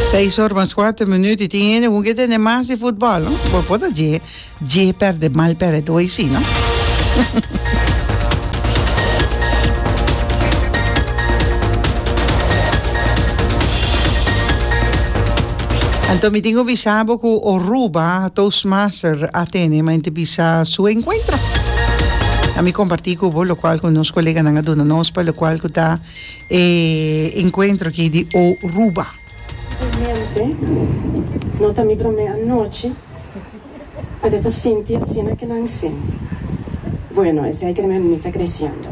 Seis or mas cuater minuut y tin hende cu ke tende mas di futbol, no? Bo por ta dje, dje perde mal perde si, no? Anto mi tin cu bisa bo cu Oruba Toastmaster a tene ma ente bisa su encuentro. A mi comparti cu bo locual cu nos coleganan a duna nos pa locual cu ta e encuentro aki di Oruba. Realmente no ta mi prome anochi pa ta sinti asina ke nan sin. Bueno, esei ke mi ta creciendo.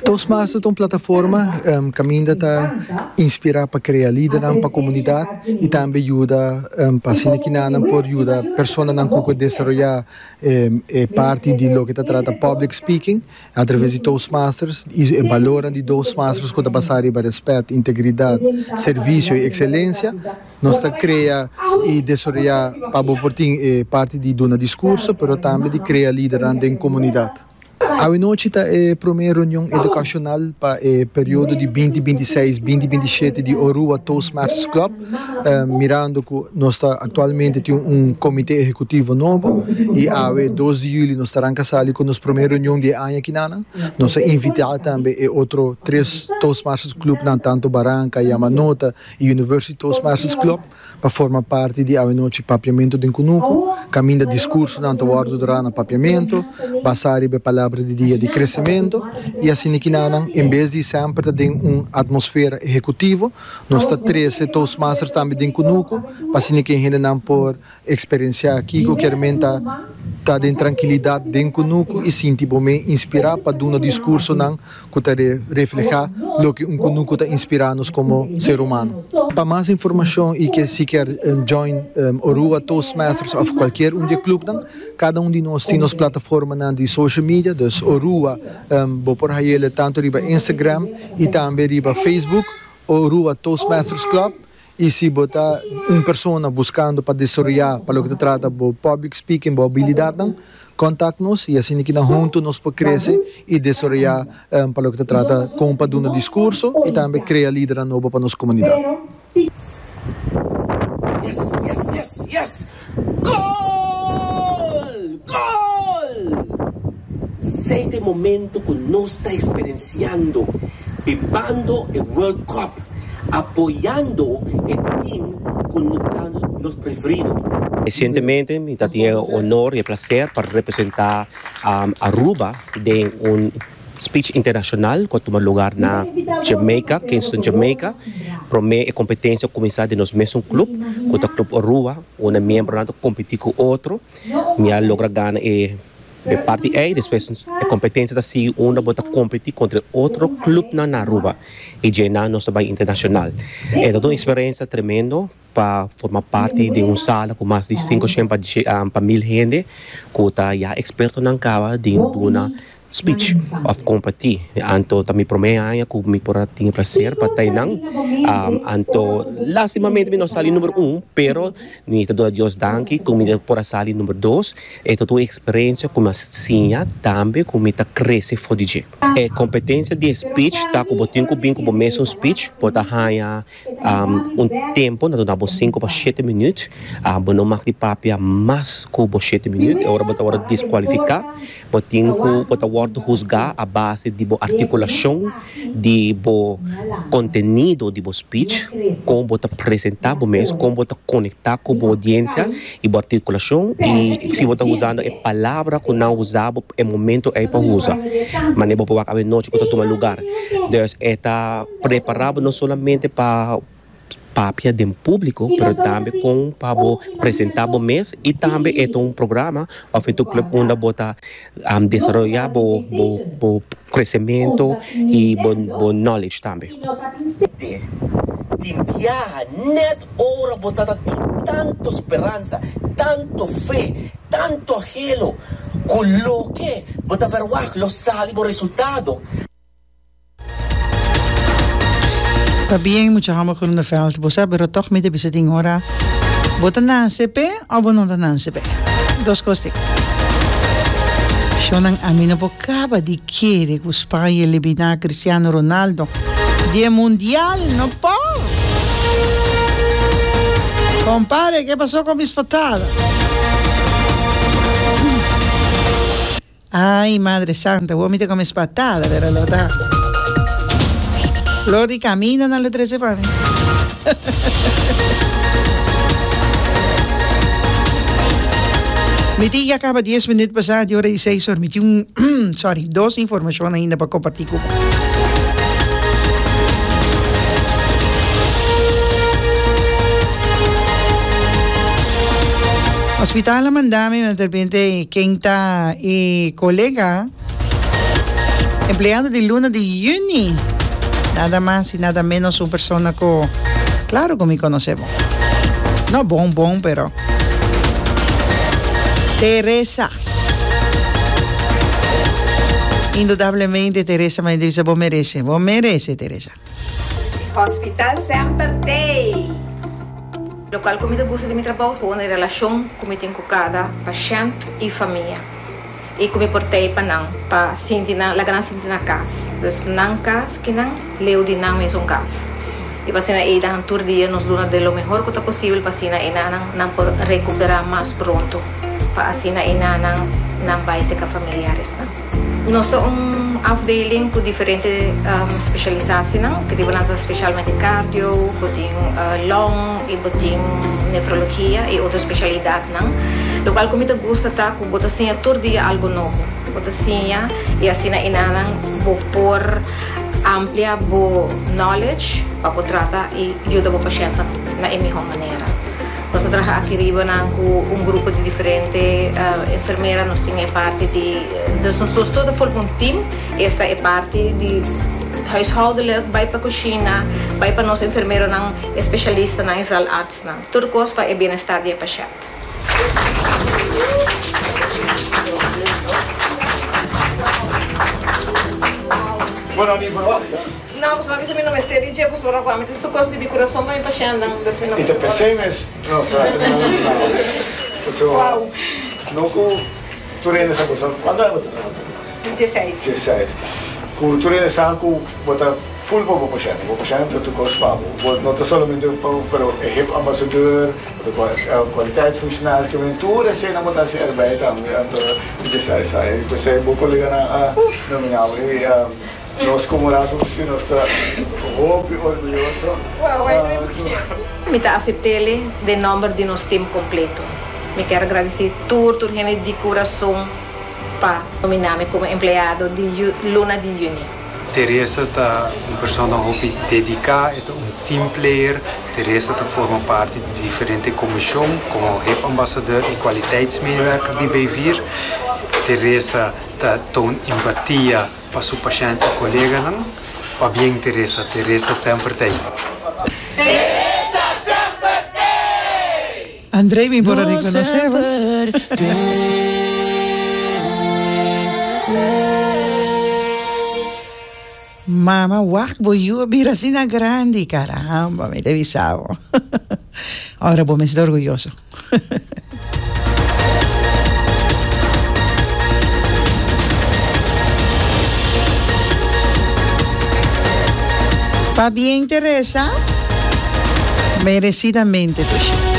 Toastmasters ta un plataforma kaminda ta inspirá pa krea lidernan pa komunidat i tambe yuda pa asina kinanan por yuda personanan ku por desaroyá e parti di loke ta trata public speaking atraves di Toastmasters i e balornan di Toastmasters ku ta basá riba rèspèt, integridat, servisio i ekselensia. Nos ta krea i desaroyá pa bo por tin e parti di duna diskurso pero tambe di krea lidernan den komunidat. Awenochi ta e promé reunion edukashonal pa e periodo di binti binti seis, binti binti shete di Orua Toastmasters Club. Mirando ku nos ta aktualmente tin un komité ehekutivo nobo i awe dos di yüli nos ta ranka sali ku nos promé reunion di e aña kinanan. Nos a invitá tambe e otro tres Toastmasters Clubnan tantu Baranka, Yamanota i University Toastmasters Club. pa forma parti di awenochi Papiamentu den Kunuku, kaminda diskursonan ta wòrdu durá na papiamentu, basá riba e palabra di dia di kresementu, i asina kinanan, en bes di semper ta den un atmosfera ehekutivo, nos ta trese Toastmasters tambe den kunuku, pa asina ke hendenan por eksperensiá kiko kier men ta ta den trankilidat den kunuku i sinti bo men inspirá pa duna diskursonan ku ta reflehá loke un kunuku ta inspirá nos komo ser humano. Pa mas informashon i ke si kier join Orua Toastmasters òf kualkier un di e klupnan, kada un di nos tin nos plataformanan di social media, dus Orua bo por hay'el tantu riba Instagram i tambe riba Facebook, Orua Toastmasters Club. I si bo ta un persona buskando pa desaroyá pa loke ta trata bo public speaking, bo abilidatnan, kontak nos i asina kinan huntu nos por krese i desaroyá pa loke ta trata kon pa duna diskurso i tambe krea lidernan nobo pa nos komunidat. Yes, yes, yes, yes! Gol! Gol! Sei ta e momento ku nos ta eksperensiando, bibando e World Cup, apoyando e team ku no ta nos preferido. Resientemente mi ta tin e honor y e placer pa representa Aruba den un speech internacional cu a tuma lugar na Jamaica, Kingston, Jamaica. Prome e competencia a cuminsa den nos mesun club cu ta Club Aruba, unda miembronan ta competi cu otro. Mi a logra gana e E parti ei despues e competencia ta sigui unda bo ta competi contra e otro clubnan na Aruba y dje nan nos ta bay internacional. E ta un experiencia tremendo pa forma parti den un sala cu mas di cinco shen pa pa mil hende cu ta ya expertonan caba den duna speech of competi. Anto ta mi prome aña cu mi por a tin e placer pa ta einan. Anto lastimamente mi no sali number un pero Mi ta duna Dios danki ku mi por a sali number dos. E ta un eksperensia ku mi a siña tambe ku mi ta krese for di dje. E kompetensia di e speech ta ku bo tin ku bin ku bo mesun speech. Bo ta haña un tempu, nan ta duna bo sinku pa shete minüt. Bo no mag di papia mas ku bo shete minüt, e ora bo ta wòrdu diskualifiká. Bo tin ku bo ta wòrdu husgá a base di bo artikulashon, di bo kontenido di bo speech, kon bo ta presentá bo mes, kon bo ta konektá ku bo oudiensia i bo artikulashon i si bo ta usando e palabra ku nan usa bo e momento ei pa usa. Manera bo por wak awenochi ku ta tuma lugar. Dus e ta prepará bo no solamente pa. Papia den públiko, pero tambe kon pa bo presentá bo mes i tambe e ta un programa òf e ta un club unda bo ta desaroyá bo bo bo kresementu i bo bo knowledge tambe. Te tin biaha nèt ora bo ta ta tin tantu speransa, tantu fe, tantu anhelo ku loke bo ta verwagt lo sali bo resultado. Ta bien mucha homber Groeneveld, bo sa pero toch mi ta bisa tin ora bo ta nase p'e o bo no ta nase p'e. Dos cos tin. Shownan ami no por caba di kere cu Spaña eliminá Cristiano Ronaldo di e mundial, no por! Compare, ke pasó con mis patada? Ay, Madre Santa, awor mi ta come spatada, pero lo ta. Flor di camina nan lo trece pa mi. Mi tin ya caba dies minuut pasa di ora di seis or. Mi tin un, sorry, dos informacion ainda pa comparti cu bo. Hospital a manda mi, de repente ken ta e colega empleado di luna di juni. Nada mas y nada menos un persona cu claro cu mi conoce bon. No bon bon pero Teresa. Indudablemente Teresa mi a bisa bo merece, bo merece Teresa. Hospital semper t'ey! Locual cu mi ta gusta di mi trabou ta e relacion cu mi tin cu cada pashent y famia y cu mi por tey pa nan pa sinti nan laga nan sinti na cas. Dus nan cas kinan leu di nan mesun cas y pa asina ey dan tur dia nos duna de lo mehor cu ta posibel pa asina ey nan nan por recupera mas pronto pa asina ey nan nan bay seca familiaresnan. Nos ta un afdeling ku diferente spesialisasienan, ku riba nan ta spesialmente cardio, bo tin long i bo tin nefrologia i otro spesialidatnan. Lokual ku mi ta gusta ta ku bo ta siña tur dia algu nobo. Bo ta siña i asina enanan bo por amplia bo knowledge pa bo trata i yuda bo pashèntnan na e mihó manera. Nos a traha aki riba nan ku un grupo di diferente enfermera, nos tin e parti di, dus nos tur ta forma un team, esta e parti di huishoudelijk, bai pa kushina, bai pa nos enfermeronan, especialistanan i zaalartsnan. Tur kos pa e bienestar di e pashènt. No, pasobra mi sa mi no mester di dje, pasobra ku ami tin su kos di mi kurason pa mi pashèntnan, dus mi no I ta mester ora. p'esei mes nos a nominá Pasobra no ku tur hende sa ku sa kuantu aña bo ta traha ku? Dieseis. Dieseis. Ku tur hende sa ku bo ta ful pa bo pashènt, bo pashènt ta tur kos pa bo. Bo no ta solamente pa bo, pero e hep ambasador, bo ta kwaliteitsfunctionaris, ke men tur eseinan bo ta hasi erbij tambe. Anto dieseis aña. I p'esei bo koleganan a nominá bo. I Nos como Raad van Bestuur nos ta hopi orguyoso. Mi ta aceptele den nomber di nos team completo. Mi kier agradeci tur tur hende di curason pa nomina mi como empleado di luna di juni. Teresa ta un persona hopi dedica, e ta un team player. Teresa ta forma parti di diferente comision como hip ambassadeur y kwaliteitsmedewerker di Bevir. Teresa ta toon empatia. Pa su pashènt i koleganan, pabien Teresa, Teresa semper t'ei. Teresa semper t'ei! André mi por a reconoce bo. Mama wak bo yu a bira asina grandi caramba mi ta bisa bo. Ora bo mester orguyoso. Pabien Teresa, merecidamente Tushi.